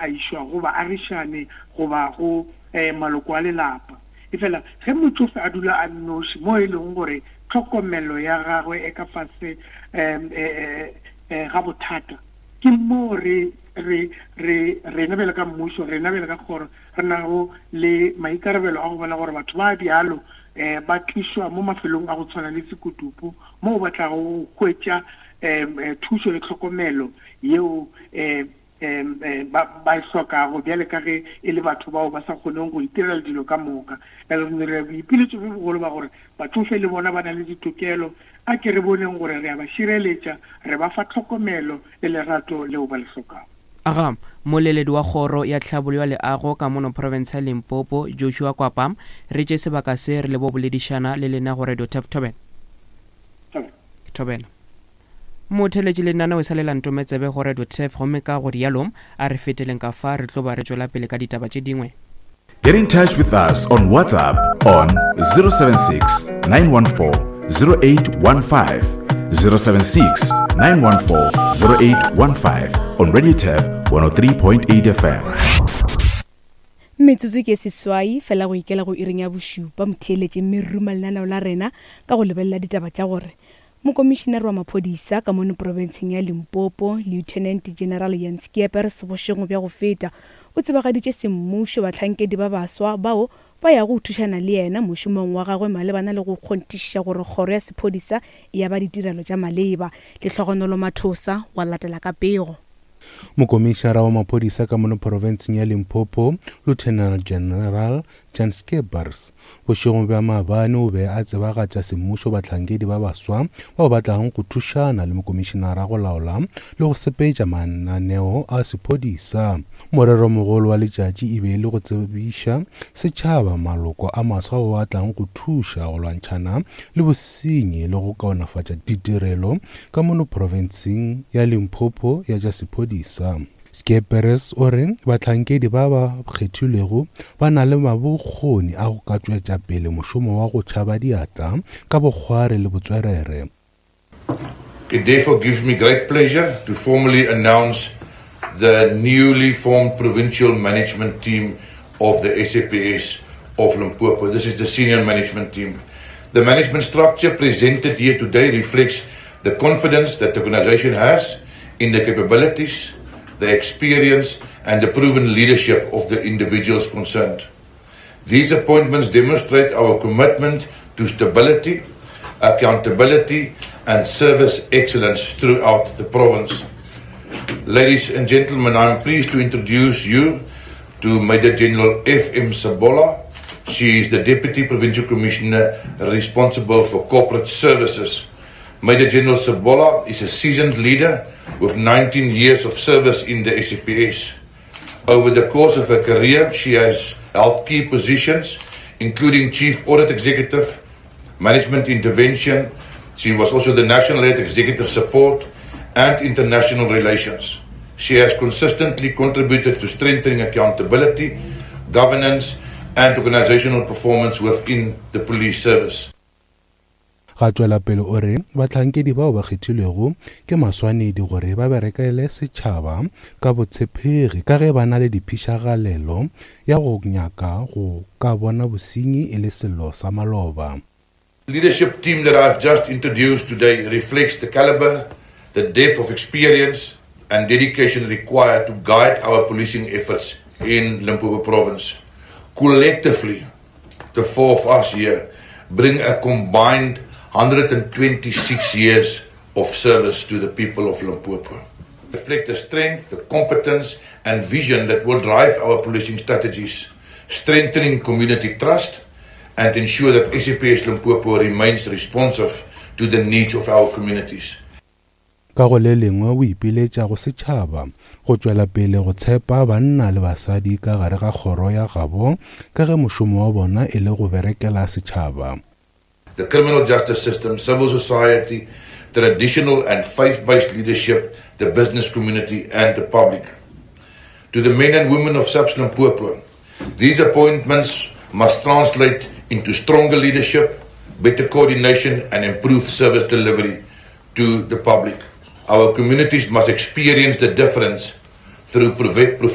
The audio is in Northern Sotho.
a išwa go baagišane goba go maloko a lelapa. Efela ge motšofe a dula a nnoši mo e lego gore tlhokomelo ya gagwe e ka fase ga bothata, ke moo re, re, re, rena bjalo ka mmušo, rena bjalo ka kgoro, re nago le maikarabelo a go bona gore batho ba bjalo ba tlišwa mo mafelong a go tshwana le Sekutupu moo ba tlago go hwetša thušo le tlhokomelo yeo ba ba e hlokago bjale ka ge e le batho bao ba sa kgoneng go itirela dilo ka moka. Bjale re dira boipiletšo bjo bogolo ba gore batšofe le bona ba na le ditokelo, a ke re boneng gore re a ba šireletša, re ba fa tlhokomelo le lerato leo ba le hlokago. Aga, Moleledi wa Kgoro ya Tlhabollo ya Leago ka mono profense ya Limpopo, Joshua Kwapa, re tše sebaka se re le bo boledišana le lena go Radio Turf Thobela. Thobela. Motheeletši lenaneo e sa le la ntome tsebe go Radio Turf gomme ka go rialo a re feteleng ka fa re tlo ba re tšwela pele ka ditaba tše dingwe. Get in touch with us on WhatsApp on 076 914 0815. 076 914 0815 on Radio Turf 103.8 FM. Metsotso ke seswai fela go ikela go iring ya bošupa motheeletši mme re ruma lenaneo la rena ka go lebelela ditaba tša gore Mokomišinare wa maphodisa ka mono profenseng ya Limpopo, Lieutenant General Jan Schiepers bošego bja go feta o tsebagaditše semmušo bahlankedi ba baswa bao ba yago go thušana le yena mošomong wa gagwe malebana le go kgonthišiša gore kgoro ya sephodisa e aba ditirelo tša maleba. Lehlogonolo Mathosa wa latela ka pego. Mokomišara wa maphodisa ka mono profenseng ya Limpopo, Lieutenant General Jan Skeepers, bošegong bja maabane o be a tsebagatša semmušo bahlankedi ba baswa bao ba tlago go thušana le mokomišenara go laola le go sepetša mananeo a sephodisa. Moreromogolo wa letšatši e be e le go tsebiša setšhaba maloko a maswa ao a tlago go thuša go lwantšhana le bosenyi le go kaonafatša ditirelo ka mono profenseng ya Limpopo ya tša sephodisa. Skeperes o re bahlankedi ba ba kgethilwego ba na le mabokgoni a go ka tšwetša pele mošomo wa go tšhaba diatla ka bokgwari le botswerere. It therefore gives me great pleasure to formally announce the newly formed provincial management team of the SAPS of Limpopo. This is the senior management team. The management structure presented here today reflects the confidence that the organization has in the capabilities, the experience, and the proven leadership of the individuals concerned. These appointments demonstrate our commitment to stability, accountability, and service excellence throughout the province. Ladies and gentlemen, I'm pleased to introduce you to Major General F.M. Sabola. She is the Deputy Provincial Commissioner responsible for corporate services. Major General Sabola is a seasoned leader with 19 years of service in the SAPS. Over the course of her career, she has held key positions, including Chief Audit Executive, Management Intervention. She was also the National Head Executive Support and International Relations. She has consistently contributed to strengthening accountability, governance, and organizational performance within the police service. Ga tšwela pele o re bahlankedi bao ba kgethilwego ke maswanedi gore ba berekele setšhaba ka botshepegi ka ge ba na le diphišagalelo ya go nyaka go ka bona bosenyi e le sello sa maloba. Leadership team that I've just introduced today reflects the caliber, the depth of experience and dedication required to guide our policing efforts in Limpopo province. Collectively, the four of us here bring a combined 126 years of service to the people of Limpopo. Reflect the strength, the competence and vision that will drive our policing strategies, strengthening community trust and ensure that SAPS Limpopo remains responsive to the needs of our communities. Ka go le lengwe o ipiletša go setšhaba go tšwela pele go tshepa banna le basadi ka gare ga kgoro ya gabo ka ge mošomo wa bona e le go berekela setšhaba. The criminal justice system, civil society, traditional and faith-based leadership, the business community and the public. To the men and women of SAPS Limpopo, these appointments must translate into stronger leadership, better coordination and improved service delivery to the public. Our communities must experience the difference through professional